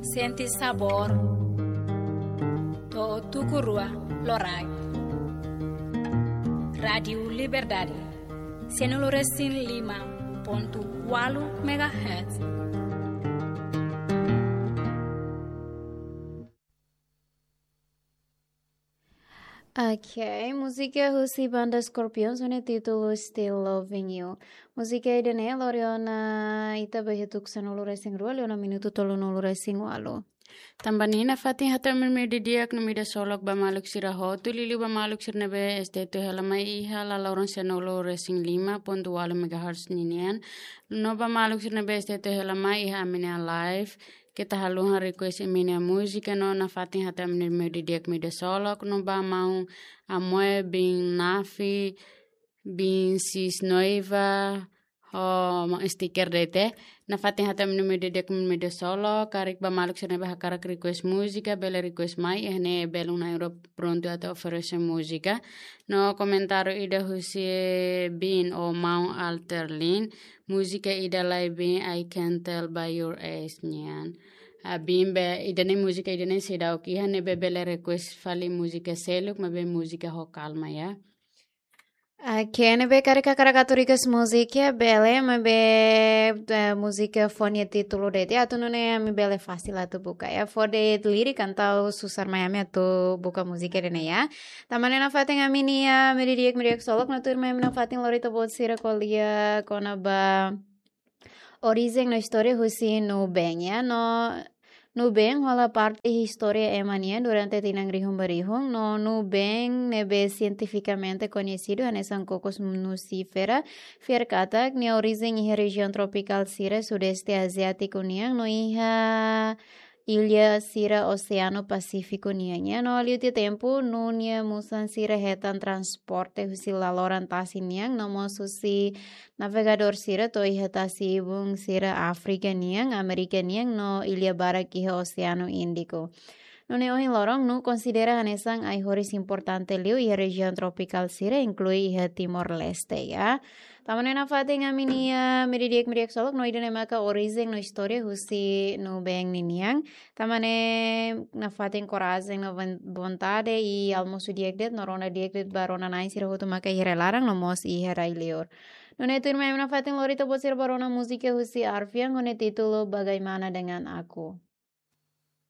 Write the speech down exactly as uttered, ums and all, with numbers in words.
Sente sabór. To'o tuku rua loraik. Rádiu Liberdade. Sianulu resin lima pontu ualu megahertz. Ok, múzika husi banda Scorpions ho nia títulu Still Loving You. Múzika ida-ne'e lori ona ita ba iha tuku sanulu resin rua, liu ona minutu tolunulu resin ualu. Tanba ne'e nafatin hato'o ami-nia meiudia di'ak no meiudia solok ba maluk sira hotu, liuliu ba maluk sira ne'ebé S D T hela mai iha laloron sanulu resin lima pontu ualu megahertz ninian. No ba maluk sira ne'ebé S D T hela mai iha ami-nia live, keta haluha request imi-nia múzika no nafatin hato'o ami-nia meiudia di'ak meiudia solok no ba maun Amoe bin Nafi bin Sis Noiva ho maun Sticker D T. Nafatin hato'o ami-nia meiudia di'ak meiudia solok, karik ba maluk sira ne'ebé hakarak request múzika, bele request mai, iha ne'e belun na'in-rua prontu atu oferese múzika. No komentáriu ida husi bin ou maun Alterlin, múzika ida lai bin, I Can Tell by Your Eyes nian. Ah, bin be, ida-ne'e múzika ida-ne'e seidauk iha, ne'ebé bele request fali múzika seluk, maibé múzika ho kalma, ya. Ok, ne'ebé karik hakarak atu request múzika, bele, maibé, eh, múzika fó nia títulu de'it, atu nune'e ami bele fasil atu buka, ya. Fó de'it lirik entaun susar mai ami atu buka múzika ida-ne'e, ya. Tanba ne'e nafatin ami-nia meiudia di'ak meiudia solok no tuirmai ami nafatin lori ita-boot sira ko'alia kona-ba orijen no istória husi Nuben, ya. No Nuben hola parte istória ema nian durante tinan rihun ba rihun, no Nuben ne'ebé sientifikamente koñesidu hanesan Cocos nucifera, fiar katak nia orijen iha rejiaun tropikál sira sudeste aziátiku nian no iha illa sira Oseanu Pasífiku nian, ya. No liu tiha tempu, Nuben nia musan sira hetan transporte husi laloran tasi nian, no mós husi navegadór sira to'o iha tasi-ibun sira Áfrika nian, Amérika nian, no illa barak iha Oseanu Índiku. Nune'e ohin loron, Nuben konsidera hanesan ai-horis importante liu iha rejiaun tropikál sira, inklui iha Timor-Leste, ya. Tanba ne'e nafatin ami-nia meiudia di'ak meiudia solok no ida-ne'e maka orijen no istória husi Nuben ninian. Tanba ne'e nafatin korajen no von-, vontade i almosu di'ak de'it no rona di'ak de'it ba rona-na'in sira hotu maka iha rai-laran no mós iha rai-liur. Nune'e tuirmai ami nafatin lori ita-boot sira ba rona múzika husi Arfian ho nia títulu Bagaimana Dengan Aku.